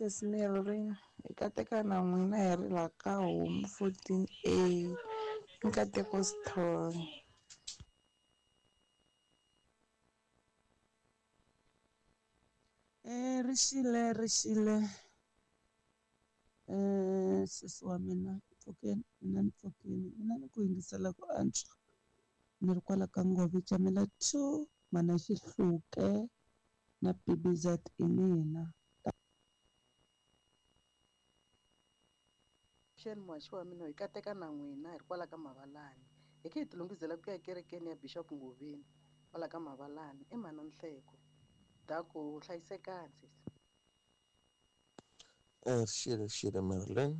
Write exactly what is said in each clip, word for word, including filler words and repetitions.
Sesi Marilyn, hi kateka na n'wina hi ri la ka homu fourteen A Nkateko Sithole. Eh rixile rixile eh sesi wa mina pfukeni mina ni pfukini mina ni ku yingisela ku antswa ni ri kwala ka Ngove Camela two mana Xihluke na P B Z i mina. Xeni muhaxi wa mina hi kateka na n'wina hi ri kwala ka Mavalani hi khe hi tilunghisela ku ya kerekeni ya Bishop Ngoveni kwala ka Mavalani i mhana Nhleko daku hlayisekani sesi. Eh rixile rixile Marilyn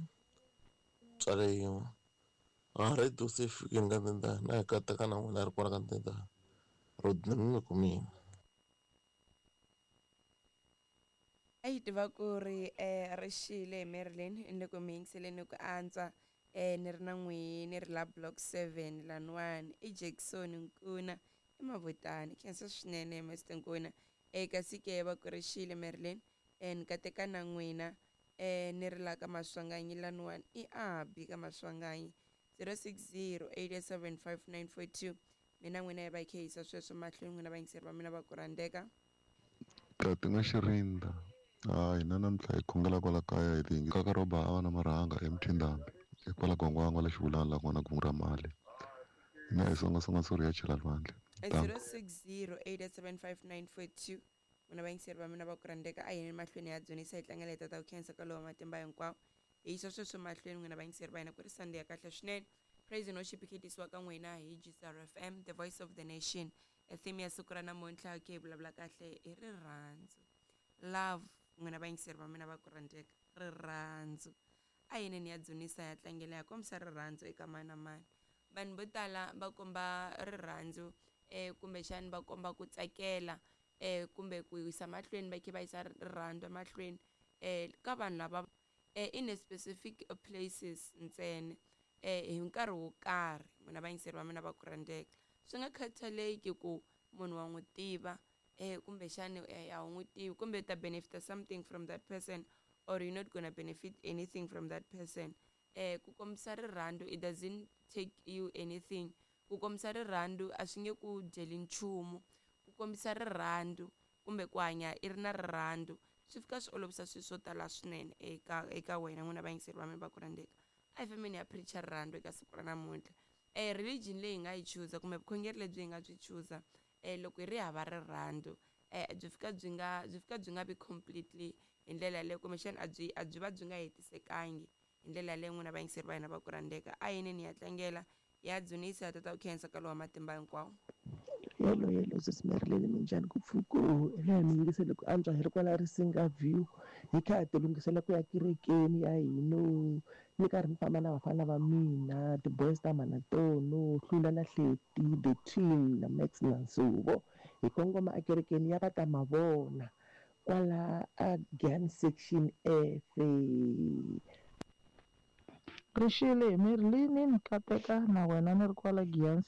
tswale yin'we a radio se fikini ka ndenda na hi kateka na n'wina ri kwala ka ndenda rodney mi kumini. A yi tiva ku ri eh rixile Marilyn ni le ku mi yingiseleni ku antswa eh ni ri na n'wihi ni ri la block seven laniwani i Jackson Nkuna i Mavutani khensa swinene Mister Nkuna eh kasi ke va ku rixile Marilyn eh ni kateka na n'wina eh ni ri la ka Maswanganyi laniwani i Abi ka Maswanganyi zero six zero eight seven five nine four two mina n'wina hi va hi kha hi yisa sweswo mahlweni n'wina vayingiseri va mina va ku rhandzeka. Tati nga Xirinda ha hina namuntlha hi khongela kwala kaya hi tingi kaka roba a va na marhanga emthindambi kwala Gongwangwa la Xivulana la kona kungu ra mali hina hi songasonga sori ya chela lwandle. zero six zero eight seven five nine four two n'wina vayingiseri va mina va ku rhandzeka a yini mahlweni ya dzunisa hi tlangela hi tata ku khensa ka lowa matimba hinkwawo hi yisa sweswo mahlweni n'wina vayingiseri va hina ku ri Sunday ya kahle swinene. Praise and worship yi tisiwa ka n'wina hi G S R F M, the voice of the nation. Theme ya siku ra namuntlha ke hi vulavula kahle hi rirhandzu, love. N'wina vayingiseri va mina va ku rhandzeka rirhandzu a yini ni ya dzunisa ya tlangela ya kombisa rirhandzu eka mani na mani. Vanhu vo tala va komba rirhandzu eh kumbexani va komba ku tsakela eh kumbe ku yisa mahlweni va khe va yisa rirhandzu emahlweni eh ka vanhu lava eh in a specific places ntsena eh hi nkarhi wo karhi. N'wina vayingiseri va mina va ku rhandzeka swi nga khathaleki ku munhu wa n'wi tiva eh kumbexani a wu n'wi tivi kumbe ta benefit something from that person or you're not gonna benefit anything from that person. Eh ku kombisa rirhandzu it doesn't take you anything. Ku kombisa rirhandzu a swi nge ku dyeli nchumu. Ku kombisa rirhandzu kumbe ku hanya i ri na rirhandzu swi fika swi olovisa swilo swo tala swinene eka eka wena n'wina vayingiseri va mina va ku rhandzeka. A hi fambeni ya preacher rirhandzu eka siku ra namuntlha. Eh religion leyi hi nga yi chuza kumbe vukhongeri lebyi hi nga byi chuza eh loko hi ri hava rirhandzu eh byi fika byi nga byi fika byi nga vi completely hi ndlela yaleyo kumbexana a byi a byi va byi nga hetisekangi hi ndlela yaleyo. N'wina vayingiseri va hina va ku rhandzeka a yini ni ya tlangela ya dzunisa tata ku khensa ka lowa matimba hinkwawo. Hello hello sesi Marilyn minjhani ku pfuku hina mi yingisele ku antswa hi ri kwala Risinga View hi kha hi tilunghisela ku ya kerekeni ya hino ni karhi ni famba na vafana va mina ti-boys ta Manatono Hlula na Hleti the team na Max na Nsuvo hi kongoma ekerekeni ya va ta mavona kwala a Giyani section F. Rixile Marilyn ni kateka na wena ni ri kwala Giyani.